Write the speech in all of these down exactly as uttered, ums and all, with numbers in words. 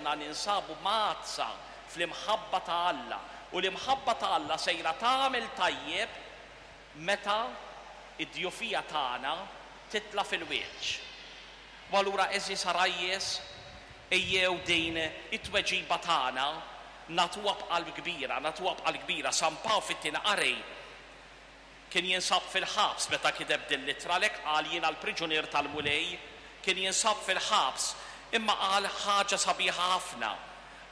Ninsabu mgħaddsa fl-imħabba ta' Alla, u l-imħabba ta' Alla sejra tagħmel tajjeb meta id-djufija tagħna titla' fil-wiċċ. U allura, għeżież għarajjes, ejjew din it-tweġiba tagħna nagħtuha b'qalb kbira, nagħtuha b'qalb kbira. San Pawl fit-tieni qari kien jinsab fil-ħabs meta kiteb din l-ittra, għalhekk qal: "Jiena l-priġunier tal-Mulej." Kien jinsab fil-ħabs, imma qal ħaġa sabiħa ħafna.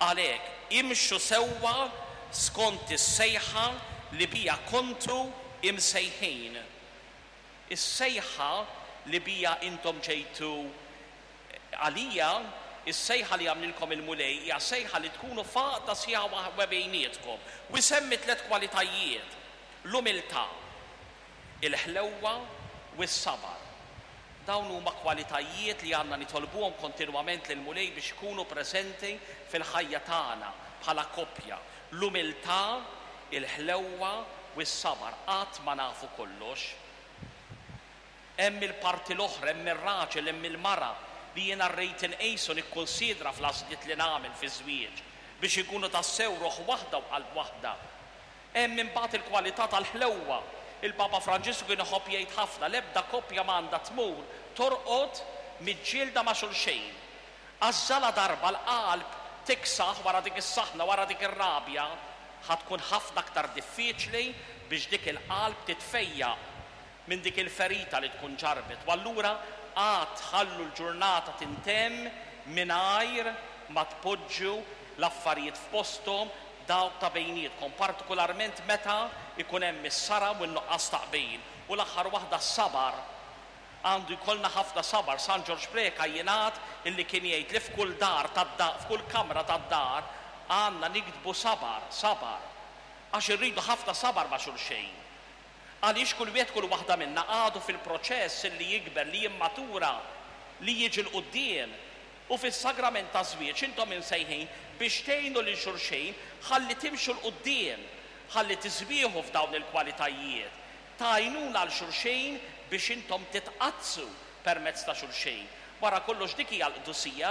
Għalhekk, imxu sewwa skont is-sejħa li bija kontu imsejħin. Is-sejħa li bija intom ġejtu għalija, is-sejħa li għamlilkom il-Mulej hija sejħa li tkunu f'għaqda sħiħa bejnietkom. U jsemmi tliet kwalitajiet: l-umiltà, il-ħlewwa u s-sabar. Dawn huma kwalitajiet li għandna nitolbuhom kontinwament lil Mulej biex ikunu preżenti fil-ħajja tagħna bħala koppja. L-umiltà, il-ħlewwa u s-sabar. Qatt ma nafu kollox. Hemm il-parti l-oħra, hemm ir-raġel, hemm il-mara li jiena rrid inqisu, nikkonsidra fl-għażliet li nagħmel fi żwieġ biex ikunu tassew ruħ waħda u qalb waħda. Hemm imbagħad il-kwalità tal-ħlewwa. Il-Papa Franġisku kien iħobb jgħid ħafna: l-ebda koppja m'għandha tmur torqod miġġielda ma' xulxejn. Għax la darba l-qalb tiksaħ wara dik is-saħna, wara dik ir-rabja, ħa tkun ħafna aktar diffiċli biex dik il-qalb titfejjaq minn dik il-ferita li tkun ġarbet. U allura qatt tħallu l-ġurnata tintemm mingħajr ma tpoġġu l-affarijiet f'posthom dawk ta' bejnietkom, partikolarment meta ikun hemm is-saram u n-nuqqas ta' qbil. U l-aħħar waħda, s-sabar. Għandu jkollna ħafna sabar. San Ġorġ Preca jingħad illi kien jgħid li f'kull dar tad-dar, f'kull kamra tad-dar għandna niktbu "sabar, sabar". Għax irridu ħafna sabar ma' xulxejn. Għaliex kull wieħed, kull waħda minna għadu fil-proċess li jikber, li jimmatura, li jiġi 'l quddiem. U fis-sagrament ta' żwieġ intom imsejħin biex tgħinu lil xulxejn ħalli timxu 'l quddiem, ħalli tiżbieħu f'dawn il-kwalitajiet. Tgħinuna 'l xulxejn biex intom titqaddsu permezz ta' xulxejn. Wara kollox dik hija l-qdusija,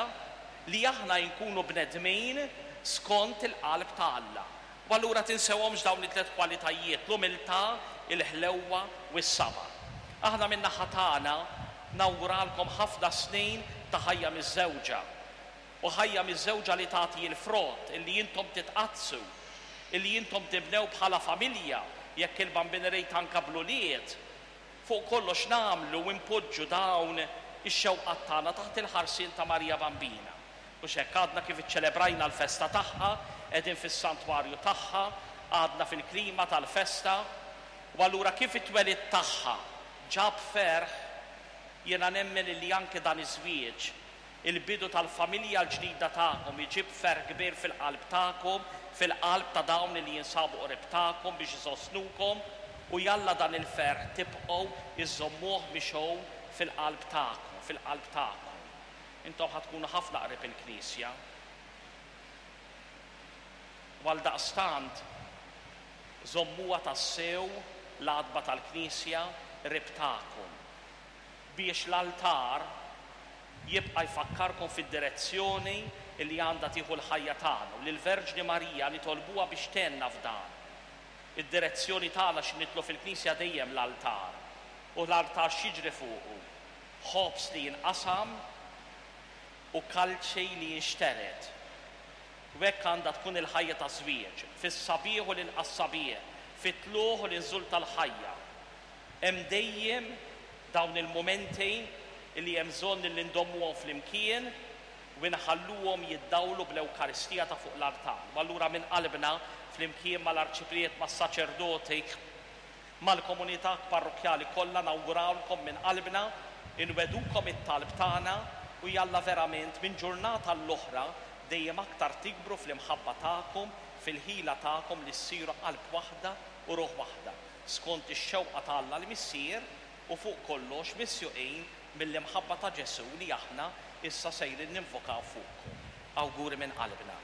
li aħna nkunu bnedmin skont il-qalb ta' Alla. U allura tinsewhomx dawn it-tliet kwalitajiet: l-umiltà, il-ħlewwa u s-sabar. Aħna min-naħa tagħna nawguralkom ħafna snin ta' ħajja miżżewġa. U ħajja miżżewġa li tagħti l-frott, illi intom titqaddsu, illi intom tibnew bħala familja, jekk il-Bambin irid anka bl-ulied. Fuq kollox nagħmlu u npoġġu dawn ix-xewqat tagħna taħt il-ħarsien ta' Marija Bambina. U hekk għadna kif iċċelebrajna l-festa tagħha, qegħdin fis-santwarju tagħha, għadna fil-klima tal-festa, u allura kif it-twelid tagħha ġab ferħ, jiena nemmen li anke dan iż-żwieġ, il-bidu tal-familja l-ġdida tagħkom, iġib ferħ kbir fil-qalb tagħkom, fil-qalb ta' dawn li jinsabu qrib tagħkom biex isostnukom, u jalla dan il-ferħ tibqgħu iżommuh mixgħul fil-qalb tagħkom, fil-qalb tagħkom. Intom ħa tkunu ħafna qrib il-Knisja. U għaldaqstant żommuha tassew l-għatba tal-Knisja qrib tagħkom biex l-altar jibqa' jfakkarkom fid-direzzjoni li għandha tieħu l-ħajja tagħna, u lill-Verġni Marija nitolbuha biex tgħinna f'dan. Id-direzzjoni tagħna x'ħin nidħlu fil-Knisja dejjem l-altar. U l-altar x'jiġri fuqu? Ħobż li jinqasam u kalċi li jinxtered. U hekk għandha tkun il-ħajja ta' żwieġ, fis-sabiħ u l-inqas sabiħ, fit-tlugħ u l-inżul tal-ħajja. Hemm dejjem dawn il-momenti li hemm bżonn li ndommuhom flimkien u nħalluhom jiddawlu bl-Ewkaristija ta' fuq l-altar. U allura minn qalbna, flimkien mal-arċipriet, mas-saċerdoti, mal-komunità parrokkjali kollha, nawgurawlkom minn qalbna, inwegħdukom it-talb tagħna, u jalla verament minn ġurnata l-oħra dejjem aktar tikbru fl-imħabba tagħkom, fil-ħila tagħkom li ssiru qalb waħda u ruħ waħda, skont ix-xewqa ta' Alla l-Missier, u fuq kollox misjuqin mill-imħabba ta' Ġesù li aħna issa sejrin ninvokaw fuqkom. Awguri minn qalbna.